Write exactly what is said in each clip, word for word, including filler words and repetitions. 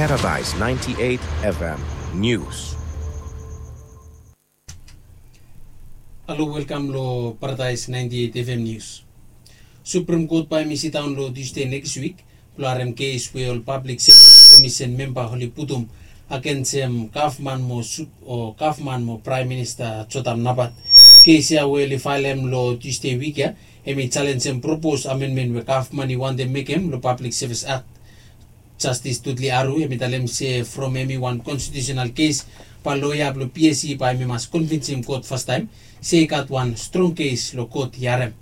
Paradise ninety-eight F M News. Halo, welkam lo Paradise ninety-eight F M News. Supreme Court bae hemi sidaon lo Tuesday nekis wik blo harem kes we ol Public Service Commission memba oli putum agensem gavman mo sup o gavman mo Praem Minista Jotam Napat. Kes ya we oli faelem lo Tuesday wik ya hemi jalenjem propos amenmen we gavman i wantem mekem lo Public Service Act. Jastis Dudley Aru hemi talem se from hemi wan konstitiusenal kes, bae loea blo P S C bae hemi mas konvinsim kot fastaem se i gat wan strong kes lo kot i harem.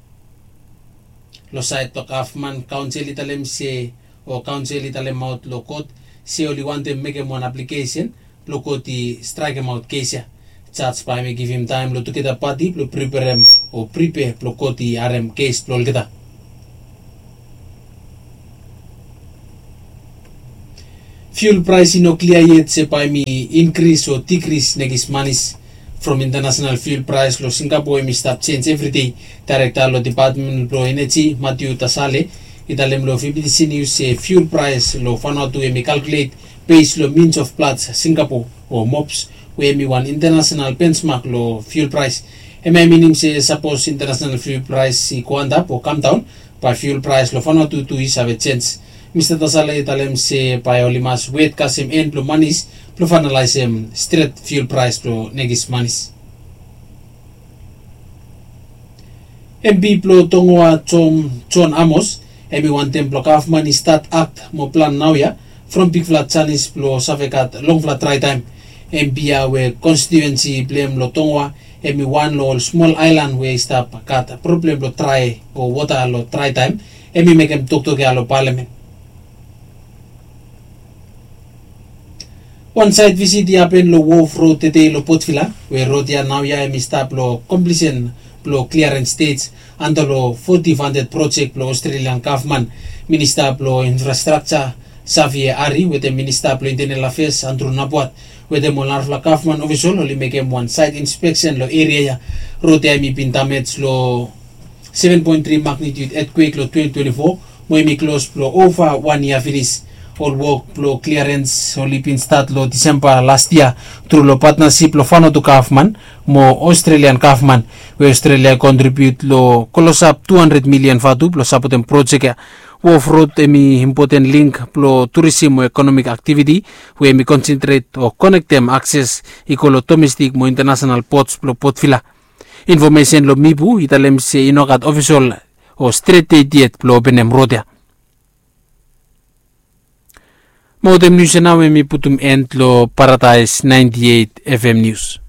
Lo saed blo gavman, kaonsel i talem se o kaonsel i talemaot lo kot se oli wantem mekem wan aplikesen blo kot i straekemaot kes ya. Jaj bae hemi givim taem lo tugeta pati blo priperem o pripea blo kot i harem kes blo olgeta. Fiul praes i no klia yet se bae hemi inkris o dikris nekis manis. From intanasenal fiul praes lo Singapo hemi stap jenj evridei. Daerekta lo Depatmen blo Eneji, Matthew Tasale, i talem lo V B T C News se fiul praes lo Vanuatu hemi kalkulet bes lo means of Platts Singapo o mops, we hemi wan intanasenal bensmak lo fiul praes. Hemia i minim se sapos intanasenal fiul praes i go antap o kamdaon, bae fiul praes lo Vanuatu tu i save jenj. Mista Tasale i talem se bae oli mas wet kasem en blo manis blo faenalaesem stret fiul praes blo nekis manis. M P blo Tongoa, John Amos, hemi wantem blo gavman i stat akt mo plan naoia from bigfala janis blo save gat longfala draetaem. M P ya we konstitiuensi blo hem lo Tongoa hemi wan lo ol smol aelan we i stap gat problem blo drae o wota lo draetaem, hemi mekem toktok ya lo palamen. Wan saet visit i hapen lo Wharf Road tedei lo Port Vila, we rod ya naoia hemi stap lo komplisen blo kliarens stej anda lo foti fanded projek blo Australian gavman. Minista blo Infrastrakja, Xavier Arry, wetem Minista blo Intenel Afeas, Andrew Napuat, wetem ol narafala gavman ofisol oli mekem wan saet inspeksen lo eria ya. Rod ya hemi bin damej lo seven point three magnitude earthquake lo twenty twenty-four, mo hemi klos blo ova wan yia finis. Ol wok blo kliarens oli bin stat lo Disemba las yia tru lo patnasip lo Vanuatu gavman mo Australian gavman, we Australia i kontribiut lo klosap tu handred milian vatu blo sapotem projek ya. Wharf Road hemi impoten link blo turisim o ekonomik aktiviti, we hemi konsentret o konektem akses i go lo domestik mo intanasenal pots blo Port Vila. Infomesen lo Mipu i talem se i no gat ofisol o stret det yet blo openem rod ya. Mo wetem nius ya nao hemi putum en lo Paradise ninety-eight F M News.